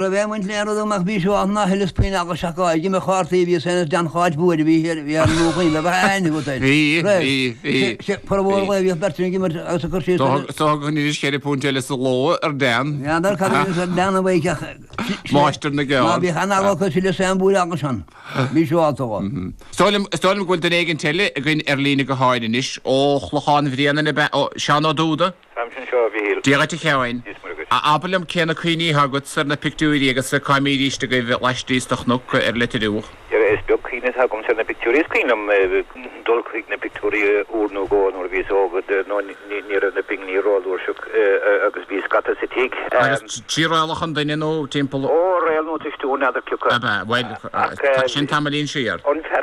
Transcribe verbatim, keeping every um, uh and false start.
Raibh aon bhaint le aon rud agam ach bhí sé ann ná thuilleas puinn eaglais ach ag imirt chártaí a bhíos féin is Dan Cháit Bhuaire a bhí thiar bhí ar an nDún Chaoin bheadh aithne agat air. Bhí, bhí, bhí. Sé formhór lae bhíodh beirt ag imirt agus ag cur síos ar. Is dócha go n-inis ceithre púnt eile sa ló ar Dan. N'fheadar cad a bhíos ar Dan a bheidh ach Máistir na Ná gceárd. bíodh an-eagla acu thuilleas aon bhuaile eaglais ann. Bhí sé ábalta dhó. Is dóigh liom, is dóigh liom go bhfuil duine éigint eile againn ar líne go háirithe anois, ó Chlochán Bhréanainn ab ea, ó Seán Ó Dúda? Táimse anseo, a Mhichíl. Dia dhuit a Sheáin. Dia is Muire dhuit. Abair liom cé na cuimhní atá agat ar na pictiúirí agus cá mbídíst agaibh laistíos de chnoc ar Leitir Fhiodh? Dhera, is beag cuimhne atá agamsa ar na pictiúirí. Is cuimhin liom dul chuig na pictiúirí uair nó dhó nuair a bhíos óg, nó ní raibh na pinginí rófhlúirseach agus bhí scata sa tigh. Agus trí Raollach an Duine nó timpeall? Ó, Réalt nó Tuistiú, n'fheadar cioca. Ab ea? Bhuel, sin tamaillín siar. An fear